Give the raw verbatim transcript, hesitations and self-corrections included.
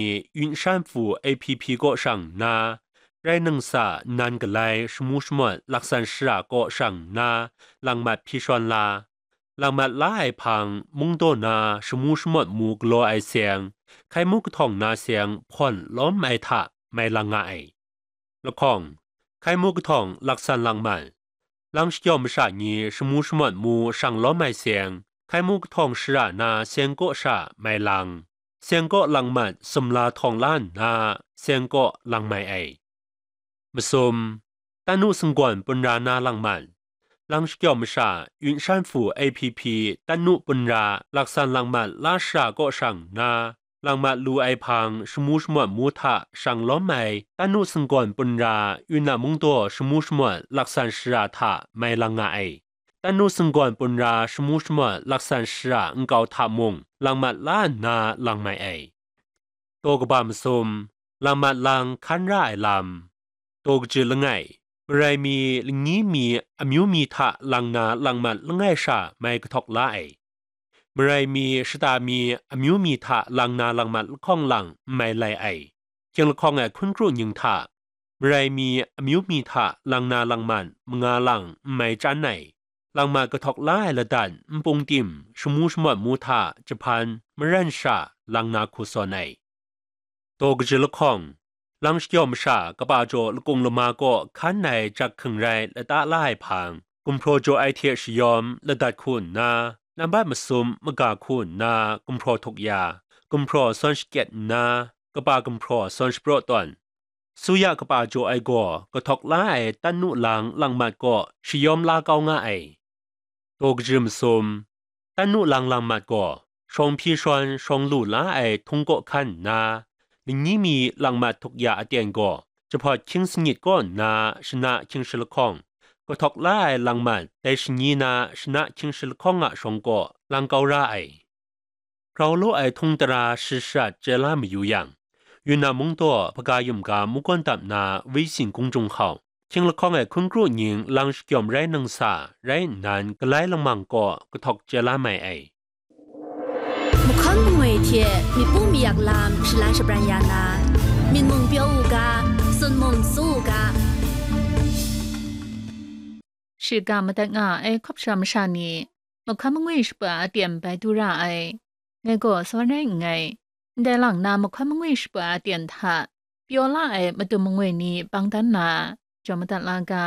ni Yunshan Fu A P P kaw shang nna, rai nang sa nnan galai shamu shamawt laksan shara kaw shang nna, langmat hpyi shawn la. Langmat la ai hpang, mungdaw na shamu shamawt mu galaw ai seng, hkai mu kahtawng na seng hpawn lawm ai hta mai lang nga ai. Lahkawng, hkai mu kahtawng laksan langmat, lang shakyaw masha ni shamu shamawt mu shang lawm ai seng, hkai mu kahtawng shara na seng kaw sha mai lang, seng kaw langmat sumla htawng la nna, seng kaw lang mai ai. Masum, tanu singgawn punra na langmat, lang shakyaw masha Yunshan Fu A P P tanu punra laksan langmat la shara kaw shang nna, langmat lu ai hpang shamu shamawt mu hta shang lawm ai tanu singgawn punra Yunnan mungdaw shamu shamawt laksan shara hta mai lang nga ai. Tanu singgawn punra shamu shamawt laksan shara nkau hta mung langmat la nna lang mai ai. Daw kaba masum, langmat lang hkan ra ai lam. Daw kaji langai, marai mi, lani mi, amyu mi hta lang na langmat langai sha mai kahtawk la ai. Marai mi, shata mi, amyu mi hta lang na langmat lahkawng lang n mai lai ai. Hkying lahkawng ai hkun kru ning hta, marai mi, amyu mi hta lang na langmat manga lang n mai chyan ai. Langmat kahtawk la ai ladan npung tim, shamu shamawt mu hta jahpan, maran sha lang na hku sawn ai. Daw kaji lahkawng, lang shakyaw masha kaba jaw lakung lama kaw hkan ai jak hkring rai lata la ai hpang, gumhpraw jaw ai hte shayawm ladat hku nna, nambat masum maga hku nna gumhpraw htuk ya, gumhpraw sawn shakyet nna, kaba gumhpraw sawn shapraw tawn, suya kaba jaw ai gaw kahtawk la ai tanu lang langmat kaw shayawm la kau nga ai. Daw kaji masum, tanu lang langmat gaw shawng hpyi shawn shawng lu la ai htung kaw hkan nna, lani mi langmat htuk ya aten gaw jahpawt hkying sanit kaw nna shana hkying shi lahkawng, kahtawk la ai langmat dai shani na shana hkying shi lahkawng a shawng kaw lang kau ra ai. Grau law ai htung tara sharat sharat chye la mayu yang, Yunnan mungdaw hpaga yum ga mungkawn dap na Wisi Gun Jung Hkau, hkying lahkawng ai hkun kru ning lang shakyawm rai nang sa rai nnan galai lamang kaw kahtawk chye la mai ai. Mahkawn mangwi hte mipu mayak lam shalan shabran ya na, myit mung pyaw u ga, tsun mung tsu u ga. Shiga madat nga ai hkawp sha masha ni, mahkawn mangwi shapa aten bai du ra ai. Ngai gaw sawan rai nngai. Ndai lang na mahkawn mangwi shapa aten hta pyaw la ai madun mangwi ni bang dan na, jaw madat la ga.